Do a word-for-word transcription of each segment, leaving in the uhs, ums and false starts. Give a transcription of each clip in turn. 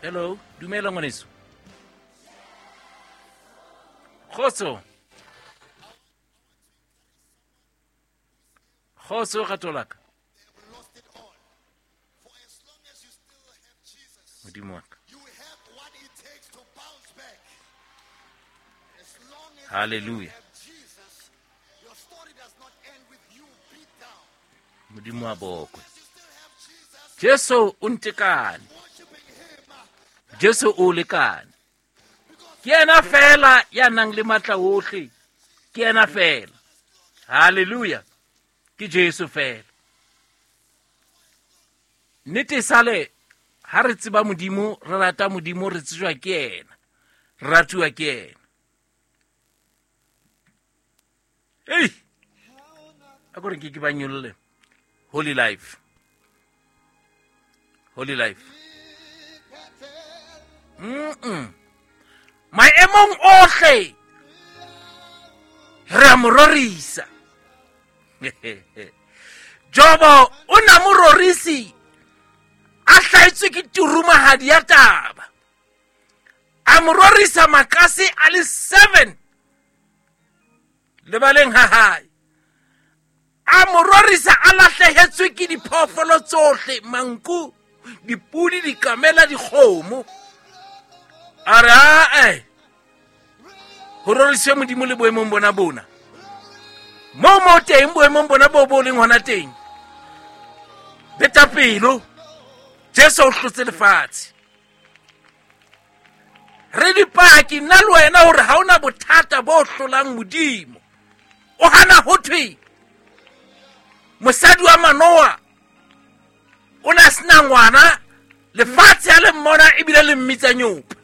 Hello, dumela ngwaneso. Kgotso. Kgotso ratolaka. Modimo wa ka. Hallelujah. Modimo wa bokwe. Jesu o ntekane. Jesu o lekane. Ke yena fela ya nang le matla ohle. Ke yena fela. Hallelujah. Ke Jesu fela. Nnete sale ha re tseba Modimo, re rata Modimo, re tsejwa ke yena. Re ratuwa ke yena. Hey! A ko re ke ke ba nyolle. Holy life. Holy life. Mm-mm. Maemong ohle re a mo rorisa. Jobo o na mo rorisi a hlaetswe ke turumahadi ya taba. A mo rorisa makase a le seven lebaleng ha hae. A mo rorisa a lahlehetswe ke diphoofolo tsohle, manku, dipudi, dikamela, dikgomo. A re ae, ho roriswe Modimo le boemong bona bona. Moo mo teng boemong bona bo bo leng hona teng. Beta pelo, Jesu o hlotse lefatshe. Re dipaki nna le wena hore ha ona bothata bo hlolang Modimo. O hana ho thwe mosadi wa Manoa o na sena ngwana, lefatshe a le mmona ebile le mmitsa nyopa.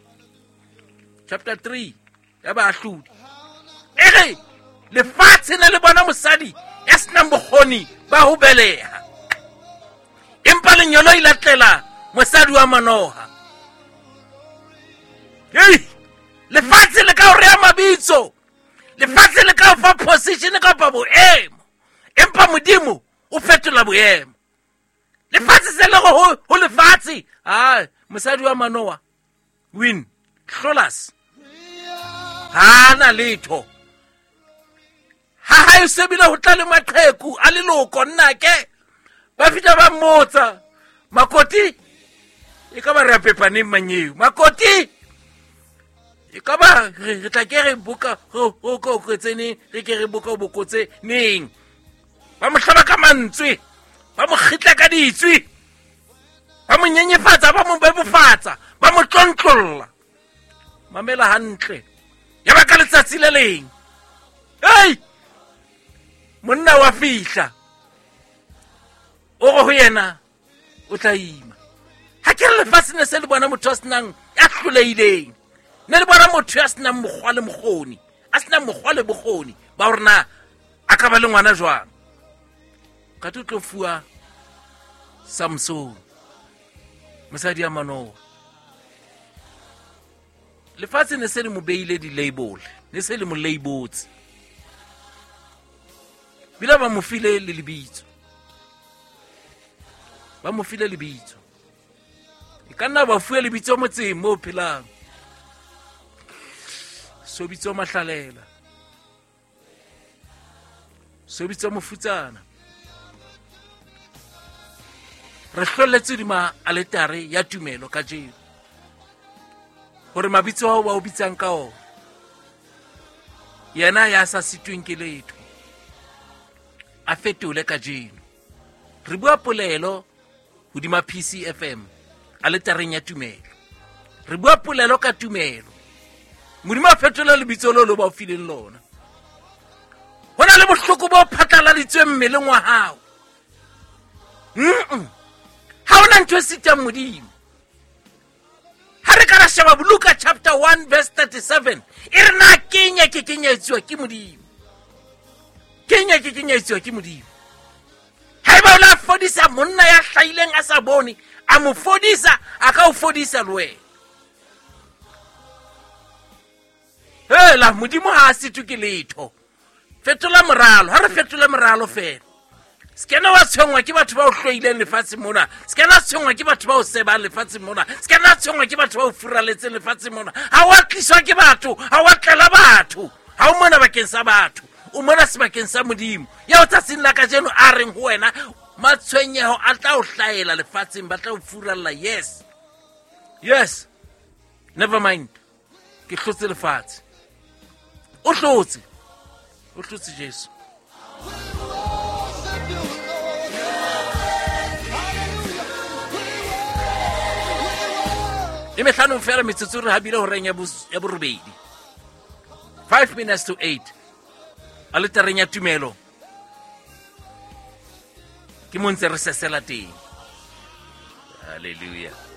Chapter three ya Baahlodi. E re lefatshe ne le bona mosadi ya senang bokgoni ba ho beleha. Empa lenyolo ile tlela mosadi wa Manoa. Hey, lefatshe le ka o rea mabitso. Lefatshe le ka o fa position kapa boemo. Empa Modimo o fetola boemo. Lefatshe se le go ho lefatshe. Ah, mosadi wa Manoa win. Hlolas. Ha na letho. Ha hae sebile ho tla le maqheku a leloko nnake. Ba fita ba mmotsa. Makoti e ka ba re a pepaneng manyeo. Makoti e ka ba re tla ke re boka ho ho ko tsene re ke re boka bokotse neng. Ba mo hlaba ka mantswe, ba mo kgitla ka ditswe, ba mo nyenyefatsa, ba mo bebofatsa, ba mo tlontlolla. Mamela hantle. Ya ba ka letsatsi le leng. Hey! Monna wa fihla. O re ho yena o tla ima. Ha ke re lefatshe ne se le bona motho a senang ya hlolehileng. Ne le bona motho ya senang mokgwa le mokgoni, a senang mokgwa le bokgoni ba hore na a ka ba le ngwana jwang. Ka tlo tlo fuwa Samson, mosadi ya Manoa. Lefatshe ne se le mo beile di-label, ne se le mo labeltse. Bila ba mo file le lebitso. Ba mo file lebitso. E ka nna ba fuwe lebitso motseng moo phelang. So bitso Mahlalela. So bitso Mofutsana. Re hloletse dima aletare ya tumelo kajeno. Hore mabitso ao ba o bitsang ka ona, yena ya sa sitweng ke letho, a fetole kajeno. Re bua polelo hodima P C F M aletareng ya tumelo. Re bua polelo ka tumelo. Modimo a fetola lebitso leo le ba o fileng lona. Ho na le bohloko bo phatlaladitsweng mmeleng wa hao. Mm-mm. Ha hona ntho e sitang Modimo. Ha re ka ra sheba Luka chapter one verse thirty-seven, e re na kenya ke kenya etsuwa ke Modimo. Kenya ke kenya etsuwa ke Modimo. Haeba o la fodisa monna ya hlahileng a sa bone, a mo fodisa, a ka o fodisa le wena. Hela Modimo ha a sitwe ke letho. Fetola moralo, ha re fetola moralo fela. Se kena wa tshwenngwa ke batho ba o hloileng lefatsheng mona. Se kena tshwenngwa ke batho ba o sebang lefatsheng mona. Se kena nna tshwenngwa ke batho ba o furaletseng lefatsheng mona. Ha wa tliswa ke batho, ha wa tlela batho, ha o mona bakeng sa batho, o mona sebakeng sa Modimo. Ya o tsatsing la kajeno a reng ho wena, matshwenyeho a tla o hlahela lefatsheng, ba tla o furalla. Yes, yes, never mind, ke hlotse lefatshe. O hlotse, o hlotse Jesu. E mehlano fela metsotso re habile horeng ya borobedi, five minutes to eight. Aletareng ya tumelo ke mo ntse re sesela teng. Hallelujah.